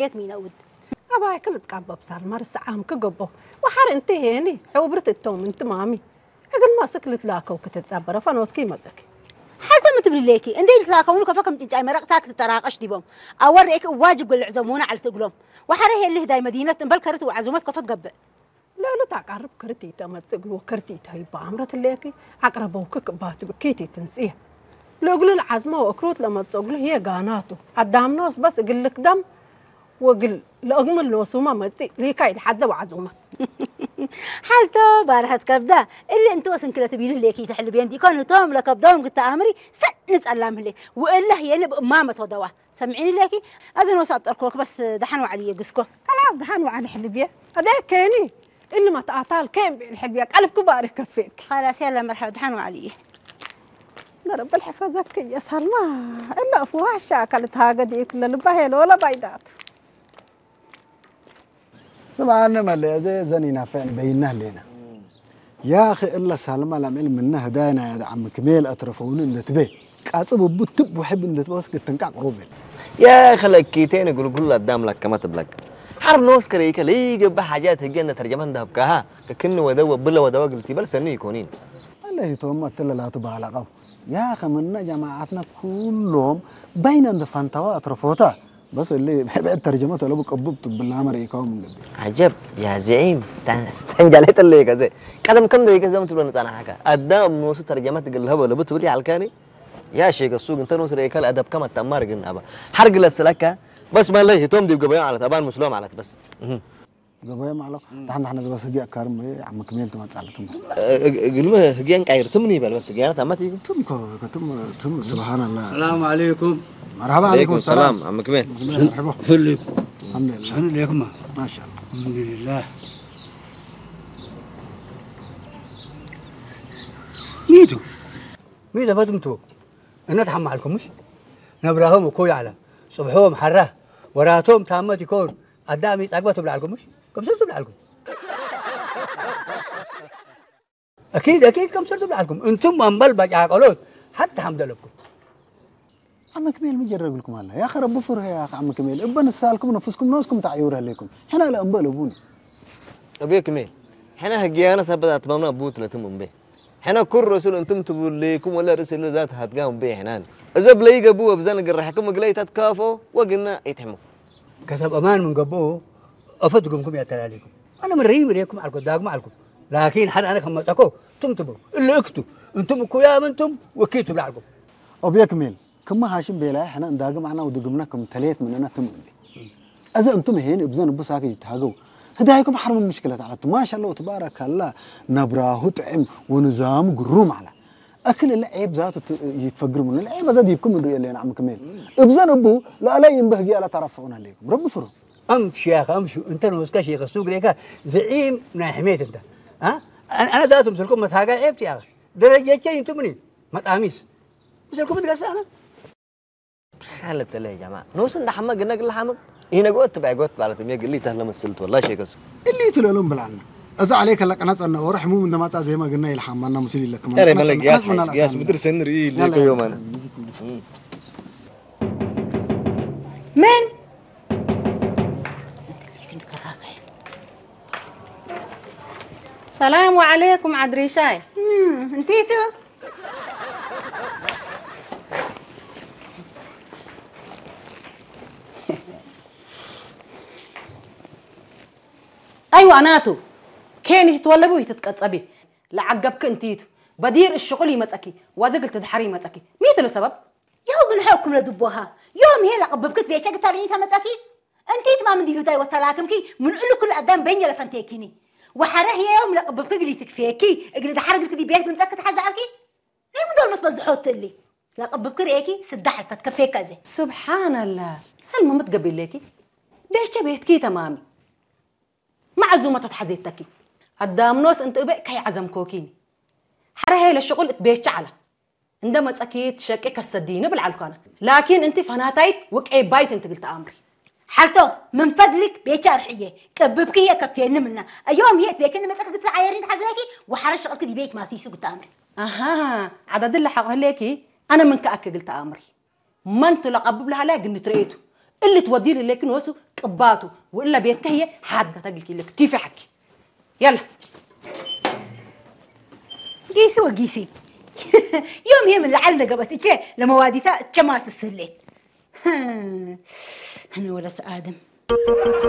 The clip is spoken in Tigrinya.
የት ሚነውድ? ኣባይ ክልትቃበብ ሳልማ ርስዓም ክገቦ። ወሓር እንት ሄኒ፣ ሕብርት እቶም እንት ማሚ። እግል ማስክ ልትላከው ክትጻበረ ፈኖስኪ መጸኪ። ሓልተ ምትብሊ ሌኪ፣ እንዴ ልትላከውኑ ከፈ ከም ጭንጫይ መረቕ ሳክ ትጠራቀሽ ዲቦም። ኣወር ሬኪ ዋጅብ ግልዕ ዘሙና ዓልቲ እግሎም። ወሓረ ሄሊ ህዳይ መዲነት እምበል ከርት ወዓዙመት ከፈት ገብእ። ለሉ ታቃርብ ክርቲተ መጽእ እግሉ ክርቲተ ይባ ኣምረት ሌኪ። ኣቅረበው ክክ ባትሉ ኪቲ ትንስየ። ለእግሉ ለዓዝማ ወእክሩት ለመጽእ እግሉ ህየ ጋናቱ። ኣዳምኖስ በስ እግል ልክደም ወግል ለእግምል ኖሱማ መጽእ ሊካይ ለሓዘ ወዓዙመት። ሓልቶ ባርሐት ከብዳ እሊ እንተ ወስንክለ ትቢሉ ሌኪ ተሕልቤን ዲኮን እቶም ለከብዶም ግታ ኣምሪ ሰጥ ንጸላም ህሌት። ወእለ ህየኒ ብእማመት ወደዋ። ሰምዒኒ ሌኪ፣ ኣዘን ወሳብ ጠርኮክ በስ ደሓን ዋዕሊ የግስኮ። ከላስ ደሓን ዋዕሊ ሕልብየ። ኣደ ኬኒ እሊ መትኣታል ኬን ብዕል ሕልብየ ቀልብክ ባሪ ከፌክ። خلاص يلا مرحبا ደሓን ዋዕሊ እየ። ነረብል ሕፈዘክ እየ ሳልማ። እለ እፍ ዋሻ ካልት ሃገድ እየ ክለ ልባ ሄሎ ወላ ባይዳቱ። ስምዓኒ መለ፣ እዚ ዘን ይናፍዕን በይና ኣለና። ያኺ እለ ሳልማ ላምዕል ምነ ህዳይና ያደ ዓሚ ክሜል ኣትረፈውኒ እንደትቤ። ቃጽብ እቡ ትብ ውሕብ እንደትበስ ክትንቃቅ ሩብል። ያኺ ለኪቴን ግልጉል ኣዳም ለከመ ትብለክ። ሓር ኖስ ከረይከ ለይገባ ሓጃት ህጌ እንደ ተርጀመት እንዳብካሃ ከክኒ ወደወ ብለ ወደወ ግልቲ በል ሰኒ ይኮኒን። ኣለይቶም ኣትለላቱ ባላቀው። ያኺ ምነ ጀማዓትና ኩሎም በይነ እንደ ፈንታዋ ኣትረፎታ። بس اللي بعد ترجمته لو بقبضت بالله مريكا من قبل. عجب يا زعيم. ተንጃሌ ጥለይ ከዘ ቀደም ከም ደይ ከዘም ትብሎ ንጻናሓካ ኣዳም ንወሱ ተርጀመት ግልሀበ ለቡ ትብል ያልካኒ። ያ ሼክ እሱ ግን ተኖስ ረይከል ኣደብ ከመ ተማር ግን ኣባ ሓርግ ለስለካ። በስ ማለይ ሂቶም ዲብ ገበያ ማለት ኣባን ምስሎ ማለት በስ ገበያ ማለት ታሕና ሕነ ዝበስ ህጊ ኣካርም ዓም ክሜል ትመጻለትም። ግልመ ህግያን ቃይር ትምን ይበል በስ ህግያና ታማት ይጉ ትም ኮ ትም ትም سبحان الله. السلام عليكم. مرحبا عليكم السلام. ዓም ክሜል مرحبا. كلكم. الحمد لله. شنو ليكم؟ ما شاء الله. الحمد لله. ميتو. ميتو فتمتو. እነ ትሓማልኩም ምሽ ነብራሆም እኮ ይዓላ ጽብሖም ሓራ ወራቶም ታመት ይኮን ኣዳሚ ጸግበ ትብላልኩም ምሽ ከምሰብ ትብላልኩም أكيد أكيد ከምሰብ ትብላልኩም እንቱም ኣምበል ባጫቆሎት ሓታ ሓምደለኩም ዓመ ክሜል ምን ጀረግልኩም ኣላ ያኸ ረቢ ፍርሆ ያኸ ዓመ ክሜል እበ ንሳልኩም ነፍስኩም ነስኩም ተዓይውር ህሌኩም ሕና ለእምበ ለቡኒ أبي كميل حنا هجيانا سبت أتمامنا بوت لتم أمبي حنا كل رسول أنتم تبليكم ولا رسول ذات هتقام بي حنان إذا بلي جابوا بزن قرحكم قلي تتكافوا وقلنا يتحموا كتب أمان من قبو أفدكم كم يا تلاليكم أنا من ريم ريكم على قداكم على قد لكن حد أنا كم تكو تم تبو إلا اكتو أنتم كو يا منتم وكيتوا لعلكم أبي كميل كما هاشم بيلا حنا نداقم عنا ودقمنا كم تليت مننا تم أمبي أذا أنتم هين إبزان بساكي يتهاجو هدايكم حرم مشكلة على ما شاء الله تبارك الله نبراه طعم ونظام قروم على أكل العيب ذاته يتفجر من العيب هذا ديبكم من رؤية لنا عم كميل إبزان أبو لا لا ينبه جي على طرف هنا ليكم رب فرو أمشي يا أخي أمشي أنت نوسكا شيخ السوق ليك زعيم ناحميت أنت ها أنا أنا ذاته مسلكم متهاجا عيبت يا أخي درجة شيء أنتم مني ما تقاميس مسلكم مدرسة أنا ሓለተለ ጀማ ንሱ እንዳሓመ ግነ ግለ ሓመም ይነግኦ ትባይ ጎት ማለት ነው የግል ይተህለ መስልት ወላ ሸከሱ اللي تلالون بلعنا أزا عليك لك أنا صنع ورحمو من دمات زي ما قلنا يلحم أنا مسيل لك ኧረ መለክ ያስ ሓይስ ያስ ምድር ሰንሪ ለከ ዮማን من سلام عليكم عدريشاي انتيتو ኣይዋ ናቱ ኬን ይትትወለቡ ይትትቀጸቢ ለዓገብክ እንትይቱ በዲር እሽቁል ይመጸኪ ዋዘግል ትድሓር ይመጸኪ ሚትሉ ሰበብ يهو من حكم لدبوها يوم هي لقببكت بيشك تاريني تمتأكي أنت ما من ديلو داي وتلاكمكي من ألو كل أدام بين يلفنتيكيني وحره هي يوم لقببك قلي تكفيكي اقلي دحرق لك دي بيت من زكت حزعلكي ليه مدول متبزحوت اللي لقببك ريكي سدحت فتكفيك زي سبحان الله سلمى متقبل ليكي بيشك بيتكي تمامي معزومة تتحزيتكي ኣዳምኖስ እንት እበእ ከይዓዘምኮኪኒ ሓረ ሄለ ሽቁል እት ቤቻ ዓላ እንደ መጸኪ ትሸቂ ከሰዲ ንብል ዓልኳነ ላኪን እንቲ ፈናታይት ወቀይ ባይት እንትግል ተኣምሪ ሓልቶ ምን ፈድልክ ቤቻ ርሕየ ቅብብክ እየ ከፍየኒ ምና እዮም ሄት ቤትን መጸክ ግትር ዓየሪን ሓዝለኪ ወሓረ ሽቅልክ ዲቤት ማሲሱ ግተኣምሪ ኣሃ ዓዳድለ ሓቆ ህለኪ ኣነ ምን ከኣክ ግል ተኣምሪ መንቱ ለቐብብ ለሃላይ ግን ትርእየቱ اللي توديه لك نوسو قباته، وإلا بيتهي حد قتلك لك تيفي حكي. يلا. ጊሲ ወጊሲ ዮም ይሄ ምን ለዓል ነገበት እቼ ለመዋዲታ እቸ ማስስሌት። እኔ ወለት አድም